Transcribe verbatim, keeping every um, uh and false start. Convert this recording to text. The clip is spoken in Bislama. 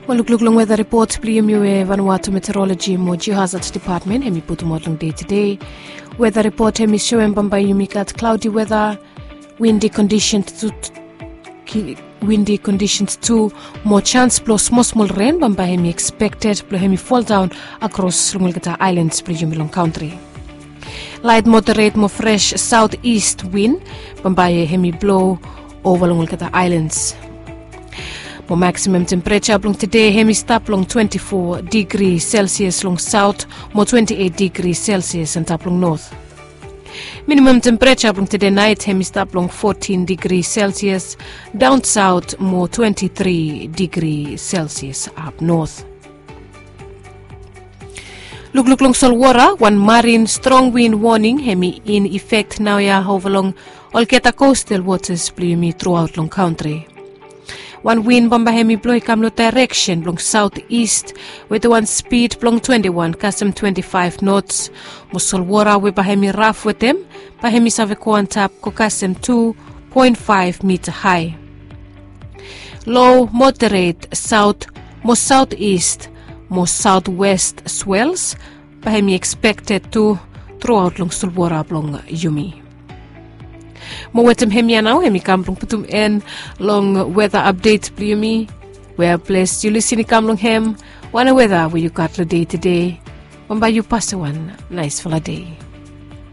Mo lukluk long weta ripot blong yumi we Vanuatu Meteorology mo Geohazard Department hemi putumaot long dei tede. Weta ripot hemi soem bambae yumi gat klaudi weta, windi kondisens tu, windi kondisens tu, mo sans blong smosmol ren bambae hemi ekspekted blong hemi foldaon akros long olgeta aelans blong yumi long kantri. Laet moderet mo fres saot ist win bambae hemi blo ova long olgeta aelans. Mo maksimam tempereja blong tede hemi stap long twenti fo digri selsias long saot mo twenti eit digri selsias antap long not. Minimam tempereja blong tede naet hemi stap long fotin digri selsias daon saot mo twenti tri digri selsias ap not. Lukluk long solwota, wan marin strong win woning hemi in efek naoia ova long olgeta kostal wotas blong yumi truaot long kantri. Wan win bambae hemi blo i kam long daereksen blong saot ist wetem wan spid blong twenti wan kasem twenti faef nots. Mo solwota we bae hemi raf wetem bae hemi save go antap go kasem tu poen faef mita hae. Lo moderet saot mo saot ist mo saot west swels bae hemi ekspekted tu truaot long solwota blong yumi. Mo wetem hemia nao hemi kam blong putum en long weta apdet blong yumi. We ples yu lisin i kam long hem, wan weta we yu gat long dei tede. Bambae yu pasem wan naesfala dei.